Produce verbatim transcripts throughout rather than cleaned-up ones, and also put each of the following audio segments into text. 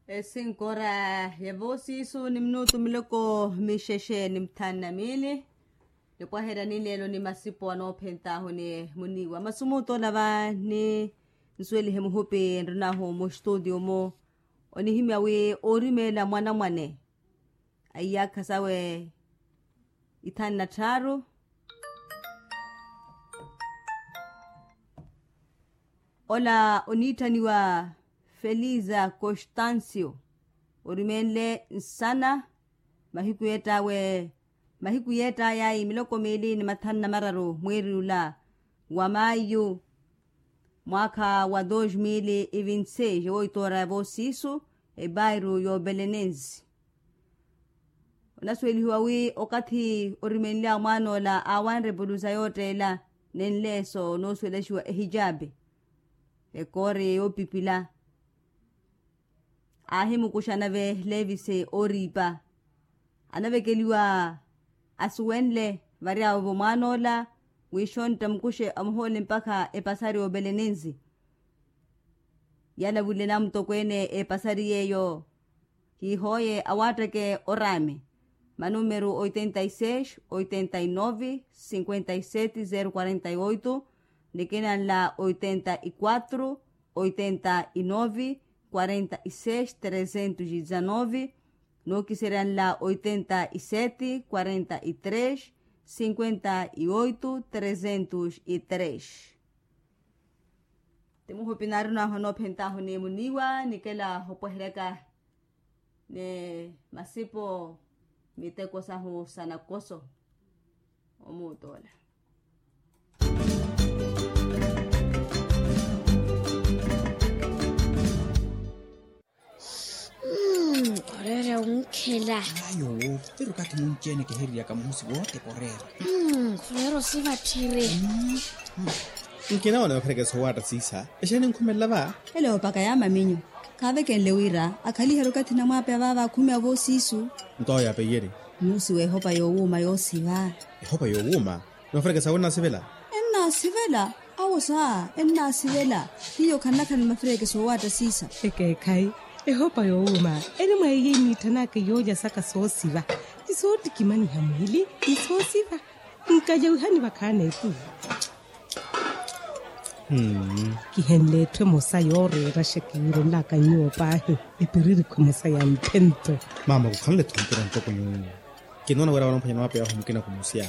Esinkora ya voosiisu ni minutu miloko mixexe ni muthanu na miili. Nipwaherya ninleelo ni masipo anoophentaahu ni muniiwa masi mutola va ni nsuwelihe muhupi enrinahu mustutio mu onihimya wi oorimeela mwanamwane a iyaakha sawe ithanu na tthaaru. Ola oniitthaniwa feliza constancio orimenle nsana mahiku yeett'awe mahiku yeett'ayayi miloko miili ni mathanu na mararu mwiiri ula wa mayu mwaakha wa dos mil e vinte seis ewoitoora ya voosiisu ebairu y'obelenensi. Onasuwelihiwa wi okathi orimenlyawe mwaan'ola aawanre pulusa yootteela nenleeso noosuwelaxiwa ehijape ekoori yoopipila. Aahimukuxa nave levise ooriipa anavekeliwa asuwenle varyawe-vo mwaan'ola wi xontta mukuxe amuhoole mpakha epasari y'obelenensi. Yalavulelani mutokweene epasari yeeyo. Hiihooye awaatteke oraame manumeru oitenta y seis oitenta y nove cinquenta y sete zero quarenta y oito nikina nla oitenta y quatro oitenta y nove quarenta y seis trezentos y dezanove. Nookiserya nla oitenta y sete quarenta y tres cinquenta y oito trezentos y tres. Ti muhupi naari onaahu anoophentaahu ni muniiwa nikela opweheryaka ni masipo miteko sahu sa nakoso. Omuutt'ola oreera wunkhela. Ayo woovo pero kathi munci-ene kihiririyaka muhusi woote koreera. Koreera osiva tthiri. Nkinawana vakharekesa owaatta siisa exeeni nkhumelela va? Ele oopaka ya maminyu khaavekenle wira akhaliherye okathi namwaapeya vaava akhumi avo siisu. Nto awo yaapeyerye. Muusi w'ehopa yoowuuma yoosiva. Ehopa yoowuuma? Ni mafireekesa awo ennaasivela? Ennaasivela. Awo saa ennaasivela. Hiyo khannakhana ni mafireekesa oowaatta siisa. Ekeekhayi. Ehopa yoowuuma eri mwa iyo eniitthanaka yoolya saka soosiva ni soottikimaniha mwiili ni soosiva. Nkalyawihani vakhaana etu. Kihenle etthu emosa yooreeraxa kiwiirenlaka nyuwo paahi. Epiririkhu emosa ya mphento. Maama kukhanle-tho mpira ntoko nyuwo. Kinoona wira wanophwanya na mapeya ahu mukina khumusya.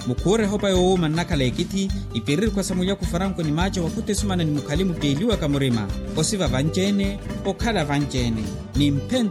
Mukhuure ehopa yoowuuma nnakhala ekithi. Ipiririkhu sa mulyaku faranko ni maaca wakhuta esumana ni mukhali mutteeliwaka murima. Osiva vanci-ene okhala vanci-ene ni mphento.